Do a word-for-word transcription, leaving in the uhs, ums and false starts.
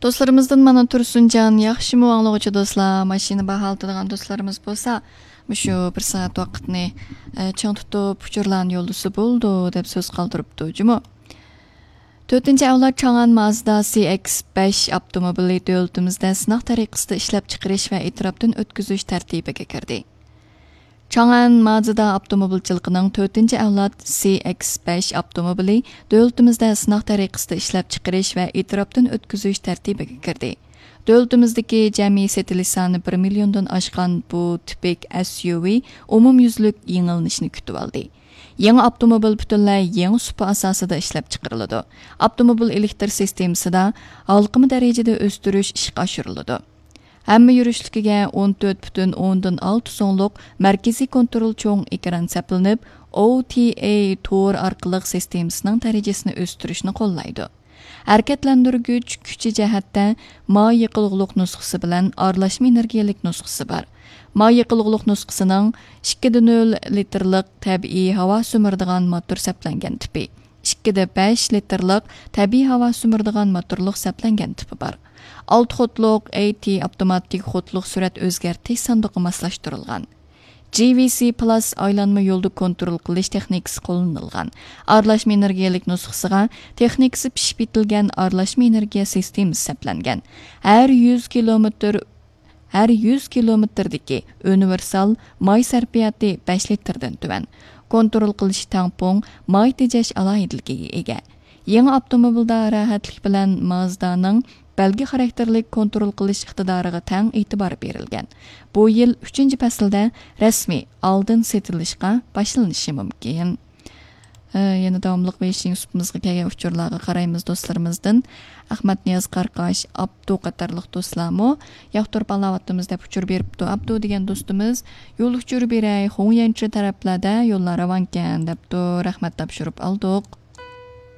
دوستلىرىمىزدىن مانا تۇرسۇنجان ياخشىمۇ ئاڭلىغۇچى دوستلار، ماشىنا باھالىتىدىغان دوستلىرىمىز بولسا، مۇشۇ بىر سائەت ۋاقىتنى، ئە، چىڭ تۇتۇپ، ئۇچۇرلارنى يوللىسا بولىدۇ، دەپ سۆز قالدۇرۇپتۇ جۇمۇ. تۆتىنچى ئەۋلاد چاڭئەن مازدا سى ئېكس بەش ئاپتوموبىلى دۆلىتىمىزدە سىناق تەرىقىسىدە ئىشلەپچىقىرىش ۋە ئېتىراپتىن ئۆتكۈزۈش تەرتىپىگە كىردى. چاڭئەن مازدا ئاپتوموبىلچىلىقىنىڭ تۆتىنچى ئەۋلاد سى ئېكس بەش ئاپتوموبىلى دۆلىتىمىزدە سىناق تەرىقىسىدە ئىشلەپچىقىرىش ۋە ئېتىراپتىن ئۆتكۈزۈش تەرتىپىگە كىردى. دۆلىتىمىزدىكى جەمئىي سېتىلىش سانى بىر مىليوندىن ئاشقان بۇ تىپىك ئەس يۇ ۋى ئومۇميۈزلۈك يېڭىلىنىشنى كۈتۈۋالدى. يېڭى ئاپتوموبىل پۈتۈنلەي يېڭى سۇپا ئاساسىدا ئىشلەپچىقىرىلىدۇ. ئاپتوموبىل ئېلېكتر سىستېمىسىدا ھالقىما دەرىجىدە ئۆستۈرۈش ئىشقا ئاشۇرۇلىدۇ. ھەممە يۈرۈشلۈكىگە ئون تۆت پۈتۈن ئوندىن ئالتە سۇڭلۇق مەركىزىي كونترول چوڭ ئېكران سەپلىنىپ، ئو تى ئەي تور ئارقىلىق سىستېمىسىنىڭ دەرىجىسىنى ئۆستۈرۈشنى قوللايدۇ. ھەرىكەتلەندۈرگۈچ كۈچى جەھەتتە ماي يېقىلغۇلۇق نۇسخىسى بىلەن ئارىلاشما ئېنېرگىيەلىك نۇسخىسى بار. ماي يېقىلغۇلۇق نۇسخىسىنىڭ ئىككى دە نۆل لىتىرلىق تەبىئىي ھاۋا سۈمۈرىدىغان موتور سەپلەنگەن تىپى، ئىككى دە بەش لىتىرلىق تەبىئىي ھاۋا سۈمۈرىدىغان موتورلۇق سەپلەنگەن تىپى بار. ئالتە خودلۇق ئەي تى ئاپتوماتىك خودلۇق سۈرئەت ئۆزگەرتىش ساندۇقى ماسلاشتۇرۇلغان. جى ۋى سى پلاس ئايلانما يولدا كونترول قىلىش تېخنىكىسى قوللىنىلغان. ئارىلاشما ئېنېرگىيەلىك نۇسخىسىغا تېخنىكىسى پىشىپ يېتىلگەن ئارىلاشما ئېنېرگىيە سىستېمىسى سەپلەنگەن. ھەر يۈز كىلومېتىر، ھەر يۈز كىلومېتىردىكى ئۇنىۋېرسال ماي سەرپىياتى بەش لىتىردىن تۆۋەن. كونترول قىلىش تەڭپۇڭ، ماي تېجەش ئالاھىدىلىكىگە ئىگە. يېڭى ئاپتوموبىلدا راھەتلىك بىلەن مازدانىڭ بەلگە خاراكتېرلىك كونترول قىلىش ئىقتىدارىغا تەڭ ئېتىبار بېرىلگەن. بۇ يىل ئۈچىنچى پەسىلدە رەسمىي ئالدىن سېتىلىشقا باشلىنىشى مۇمكىن. ئە، يەنە داۋاملىق ۋېيشىڭ سۇپىمىزغا كەلگەن ئۇچۇرلارغا قارايمىز دوستلىرىمىزدىن. ئەخمەت نىياز قاراقاش، ئابدۇ قاتارلىق دوستلارمۇ ياقتۇرۇپ ئاڭلاۋاتىمىز دەپ ئۇچۇر بېرىپتۇ. ئابدۇ دېگەن دوستىمىز، يول ئۇچۇرى بېرەي، خۇڭيەنچې تەرەپلەردە يوللار راۋانكەن دەپتۇ. رەھمەت تاپشۇرۇپ ئالدۇق.